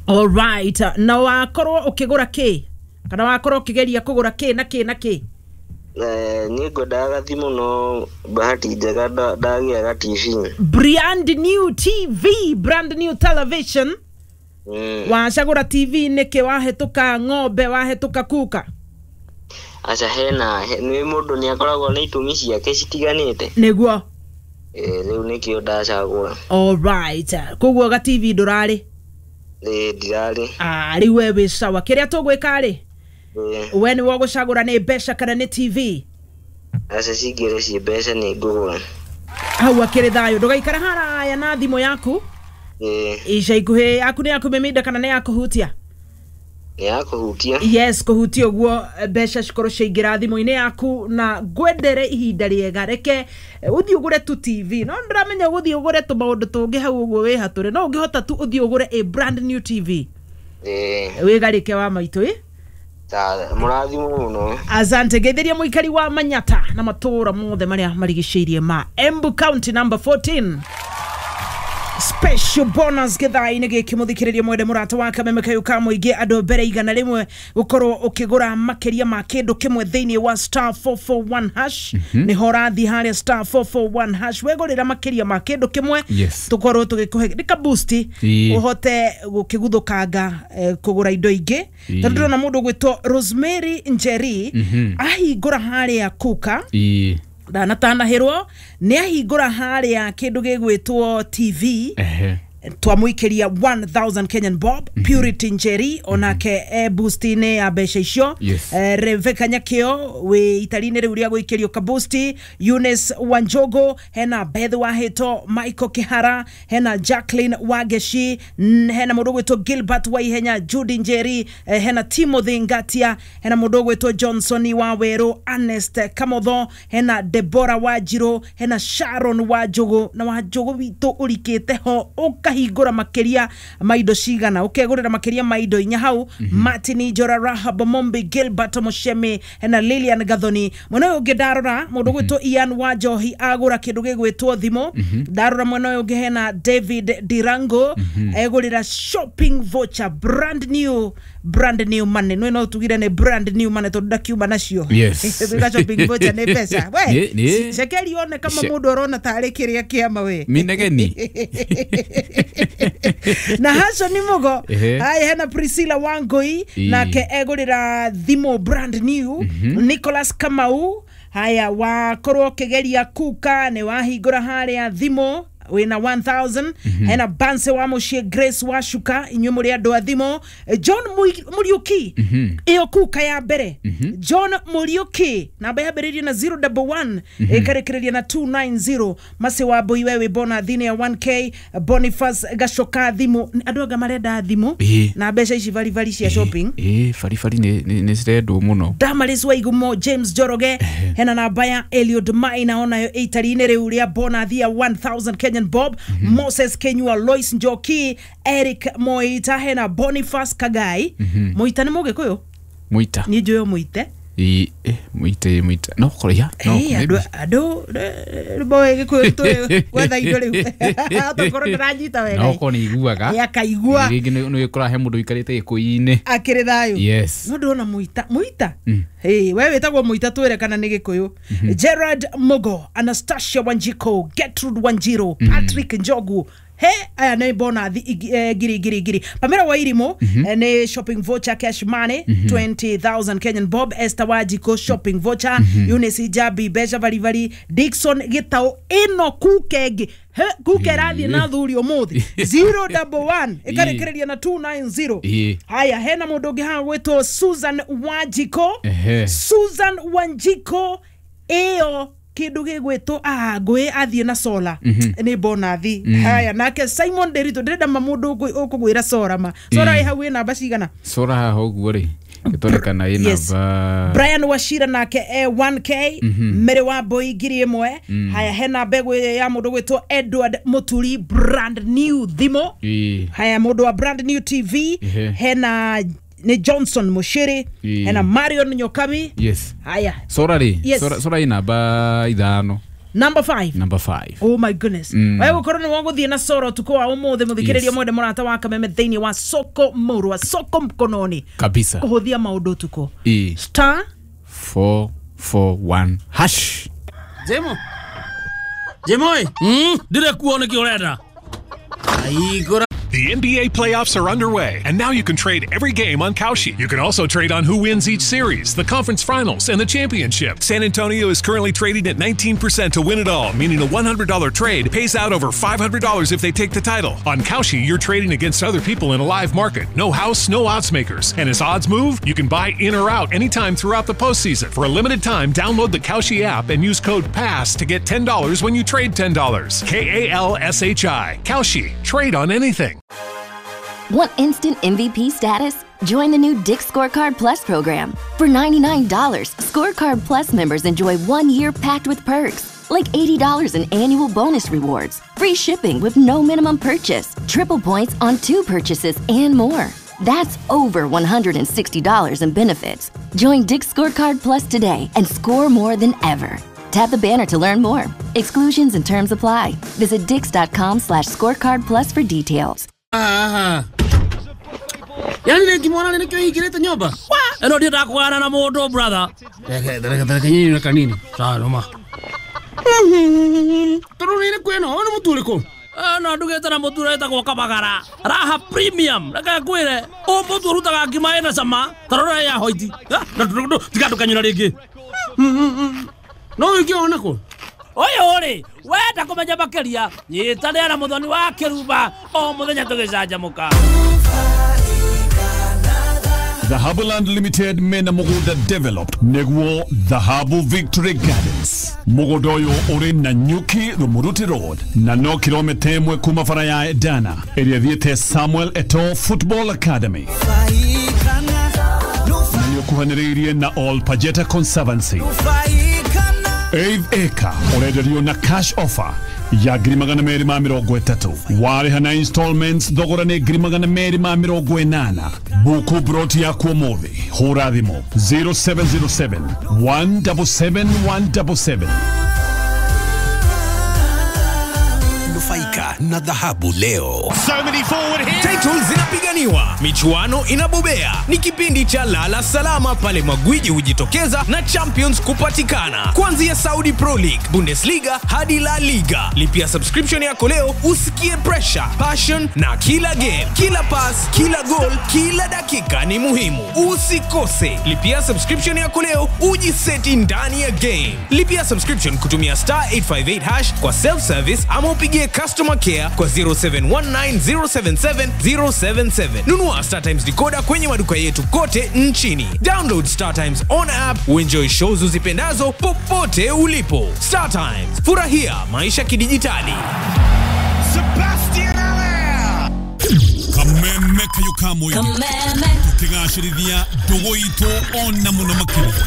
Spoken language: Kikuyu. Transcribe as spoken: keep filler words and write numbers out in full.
Alright, na wakorwo ũkĩgũra kĩ kana wakorwo ũkĩgeria kũgũra kĩ na kĩ na kĩ? Eh, niĩ ngwendaga gathimũ no bahati njega nda- ndagĩa ga T V. Brand new T V, brand new television. Mm. Wacagũra T V nĩkĩ? Wahĩtũka ng'ombe, wahĩtũka kuka? Aca, hena he- nĩ mũndũ nĩ akoragwo na itũmi ciake citiganĩte. Nĩguo. Eh, rĩu nĩkĩo ndacagũra. Alright, koguo ga T V ndũrarĩ? Ĩ, ndirarĩ. Ah, rĩu we wĩ sawa. Kĩrĩa tũgwĩka rĩ, Ĩ, we nĩwe ũgũcagũra nĩ mbeca kana nĩ T V. Aca, cingĩre ciĩ mbeca nĩ ngũgũra. Hau akĩrĩ thayũ. Ndũgaikara haraya na thimũ yaku. Ĩ. Ica ikuhĩ yaku nĩ ya kũmĩminda kana nĩ ya kũhutia? Nĩ ya kũhutia. Yes, kũhutia ũguo, mbeca cikorwo ciaingĩra thimũ-inĩ yaku. Na ngwendere ihinda rĩega. Reke eh, ũthiĩ ũgũre tu T V, no ndĩramenya ũgũthiĩ ũgũre tũmaũndũ tũngĩ hau ũguo wĩ hatũre, no ũngĩhota tu ũthiĩ ũgũre a brand new T V. Ĩ. Wĩgarĩke wa maitũ ĩ. Ta mũrathimwo mũno. Asante. Geithĩria mũikari wa Manyata na matũũra mothe marĩa marigicĩirie ma Embu County number fourteen. Special bonus gĩthaa-inĩ gĩkĩ, mũthikĩrĩria mwende mũrata wa kameme kayũ ka mũingĩ, andũ mbere igana rĩmwe gũkorwo ũkĩgũra makĩria ma kĩndũ kĩmwe thĩinĩ wa star four four one hash. Nĩho ũrathiĩ harĩa star four four one hash, wegũrĩra makĩria ma kĩndũ kĩmwe, Yes. tũkorwo tũgĩkũhe nĩ ka boost, Ĩĩ. ũhote gũkĩguthũkanga eh, kũgũra indo ingĩ. Ĩĩ. Tondũ ndĩrona mũndũ ũgwĩtwo Rosemary Njeri ahingũra harĩa kuka, Ĩĩ. ndanatanahĩrwo nĩ ahingũra harĩa kĩndũ gĩgwĩtwo T V, Ehe. twamũikĩria one thousand Kenyan bob. Purity Njeri onake e boost-inĩ ya mbeca icio. Yes. Eh, Rebecca Nyakĩo wĩ itari-inĩ rĩu rĩa gũikĩrio kabusti, Eunice Wanjogo, hena Beth Wahĩto, Michael Kihara, hena Jacqueline Wangeci, n- hena mũndũ ũgwĩtwo Gilbert Waihenya, Judy Njeri, eh, hena Timothy Ngatia, hena mũndũ ũgwĩtwo Johnson wa Werũ, Ernest Kamotho, hena Debora Wanjirũ, hena Sharon Wanjũgũ. Na Wanjũgũ witũ ũrikĩte ho ũkahingũra makĩria ma indo cigana, ũkegũrĩra makĩria ma indo inya hau. Martin Njora, Rahab Mombi, Gilbert Mushemi, hena Lilian Gathoni. Mwena ũyũ ũngĩ ndarora mũndũ ũgwĩtwo Ian Wanjohi agũra kĩndũ gĩgwĩtwo thimũ. Ndarora mwena ũyũ ũngĩ hena David Dirango egũrĩra shopping voucher, brand new, brand new money. Nĩ no tugire nĩ brand new money tondũ ndakiuma nacio. Yes. Tuga shopping voucher nĩ mbeca we. Nĩ- nĩ- Cekeri one kama Ce- mũndũ arona tarĩ kĩrĩa kĩama we. Minegeni. Na haco nĩ mũgo. Ehe. Haya, hena Priscilla Wangui, Ĩ. nake egũrĩra thimũ brand new. Nicholas Kamau, haya, wakorwo ũkĩgeria kuka nĩ wahingũra harĩa thimũ wĩna one thousand. Hena Banse wa mũciĩ, Grace wa Shuka, inyuĩ mũrĩ andũ a thimũ. Eh, John Mui- Muriuki, ĩyo kuka ya mbere, John Muriuki, namba yambĩrĩirie na zero one one ĩkarĩkĩrĩria na two nine zero. Masi wa Mbui, we wĩ bona thini ya one K. Boniface Gacoka, thimũ. Andũ anga marenda thimũ Ĩ. na mbeca ici baribari cia shopping. Ĩ, baribari nĩ nĩ- nĩ cirendwo mũno. Damaris Waigumo, James Njoroge, hena namba ya Eliud Maina onayo ĩitari-inĩ rĩu rĩa bonathi ya one thousand Kenyan bob. Moses Kenyua, Lois Njoki, Eric Moita, hena Boniface Kagai. Moita nĩ Mũgĩkũyũ? Mũita. Niĩ njũĩ o Mũite. Ĩ, eh, mũite mũita no korĩa no. Ĩ, andũ Maybe. Andũ moĩ Gĩkũyũ tũĩ gwetha indo rĩu tokorwo ndĩranyita wega. No korwo nĩ iguaga. Ĩ, akaigua. Rĩngĩ nĩ nĩ ũkoraga he mũndũ ũikarĩte Gĩkũyũ-inĩ. Akĩrĩ thayũ. Yes. No ndĩrona Mũita, Mũita. Hey, we wĩtagwo Mũita, twĩre kana nĩ Gĩkũyũ. Gerard Mugo, Anastasia Wanjiko, Gertrude Wanjiro, Patrick Njogu, he aya nĩ bonathi igi- eh, ngiri ngiri ngiri. Pamela Wairimu, eh, nĩ shopping voucher, cash money, twenty thousand Kenyan bob. Esther Wajiko, shopping voucher. Eunice Jabi, mbeca baribari. Dixon Gĩtaũ, ĩno kuke ĩngĩ. He, kuke ĩrathiĩ na thuri ũmũthĩ, zero one one ĩkarĩkĩrĩria na two nine zero. Ĩ. Haya, hena mũndũ ũngĩ haha gwĩtwo Susan Wanjiko. Ehe. Susan Wanjiko, ĩyo kĩndũ gĩgwĩtwo ah, ngũĩ athiĩ na sola nĩ bonathi. Haya, nake Simon Derito, ndĩrenda ma mũndũ ũkũ- ũkũgwĩra sora ma sora. Ĩ. Ĩ hau ĩ namba cigana? Sora haha ũguo rĩ, ĩtonekana ĩ Yes. namba. Brian Wachira nake e one K. Mary wa Mbui, ngiri ĩmwe. Haya, hena mbegũ ya mũndũ gwĩtwo Edward Muturi, brand new thimũ. Ĩ. Haya, mũndũ wa brand new T V. Ehe. Hena nĩ Johnson Mushiri. Ĩ. Hena Marion Nyokabi. Yes. Haya. Sora rĩ, Yes. sora sora ĩ namba ithano. Number five. Number five. Oh my goodness. Mm. Wewe gukorwo ni wagũthiĩ na soro tuko wa ũmũthĩ mũthikĩrĩria Yes. mwende mũrata wa Kameme thĩinĩ wa soko mũrwa soko mkononi Kabisa. kũhũthia maũndũ tuko E. star four four one hash. Jemo. Jemo ĩ. Mm, ndire kuo nĩkĩ ũrenda. Aigũra. The N B A playoffs are underway, and now you can trade every game on Kalshi. You can also trade on who wins each series, the conference finals, and the championship. San Antonio is currently trading at nineteen percent to win it all, meaning a one hundred dollar trade pays out over five hundred dollars if they take the title. On Kalshi, you're trading against other people in a live market. No house, no odds makers. And as odds move, you can buy in or out anytime throughout the postseason. For a limited time, download the Kalshi app and use code PASS to get ten dollars when you trade ten dollars. K A L S H I. Kalshi. Trade on anything. Want instant M V P status? Join the new Dick's Scorecard Plus program. For ninety-nine dollars, Scorecard Plus members enjoy one year packed with perks, like eighty dollars in annual bonus rewards, free shipping with no minimum purchase, triple points on two purchases, and more. That's over one hundred sixty dollars in benefits. Join Dick's Scorecard Plus today and score more than ever. Tap the banner to learn more. Exclusions and terms apply. Visit dicks.com slash scorecard plus for details. Aha. Yani nĩ ngĩmwona nĩ kĩo hingĩrĩte nyũmba. Ĩno ndiendaga kũgana na mũndũ brother. Reke reke reke nyinyi na kanini. Sawa noma. Tondũ nĩ kwĩna ono mũtu ũrĩkũ? No ndugĩte na mũtu ũretagwo Kabagara. Raha Premium. Reke ngwĩre, ũyũ mũtu ũrutaga ngima ĩna cama, ta rora ya hoiti. Tiga ndũkanyũra rĩngĩ. No wĩkĩona kũ? Ũyũ rĩ, wenda kũmenya makĩria, nyitanĩra na Mũthoni wa Kĩrumba o mũthenya tũgĩcanjamũka. Dhahabu Land Limited mena mugunda developed neguo Dhahabu Victory Gardens. Mugunda uyu uri na Nyuki Rumuruti Road na no kilomita imwe kuma bara ya Edana ĩrĩa thiĩte Samuel Eto'o Football Academy. Na nĩũkuhanĩrĩirie na All Pajeta Conservancy. Eighth acre ũrenderio na cash offer ya ngiri magana merĩ ma mĩrongo ĩtatũ warĩha na installments thogora nĩ ngiri magana merĩ ma mĩrongo ĩnana. Buku broti yaku ũmũthĩ hũra thimũ zero seven zero seven one seven seven one seven seven. Nufaika na dhahabu leo. So many forward here. Titles zinapiganiwa, michuano inabobea. Ni kipindi cha lala salama pale magwiji hujitokeza na champions kupatikana. Kuanzia Saudi Pro League, Bundesliga hadi La Liga. Lipia subscription yako leo usikie pressure, passion na kila game, kila pass, kila goal, kila dakika ni muhimu. Usikose. Lipia subscription yako leo ujiseti ndani ya game. Lipia subscription kutumia star eight five eight hash kwa self service ama upigie customer care kwa zero seven one nine zero seven seven zero seven seven. Nunua Star Times decoder kwenye maduka yetu kote nchini. Download Star Times on app uenjoy shows uzipendazo popote ulipo. Star Times, furahia maisha kidijitali. Sebastian Allaire. Kameme kayo kamwe. Kameme. Tukigashirithia ndugu itu ona muno makĩria.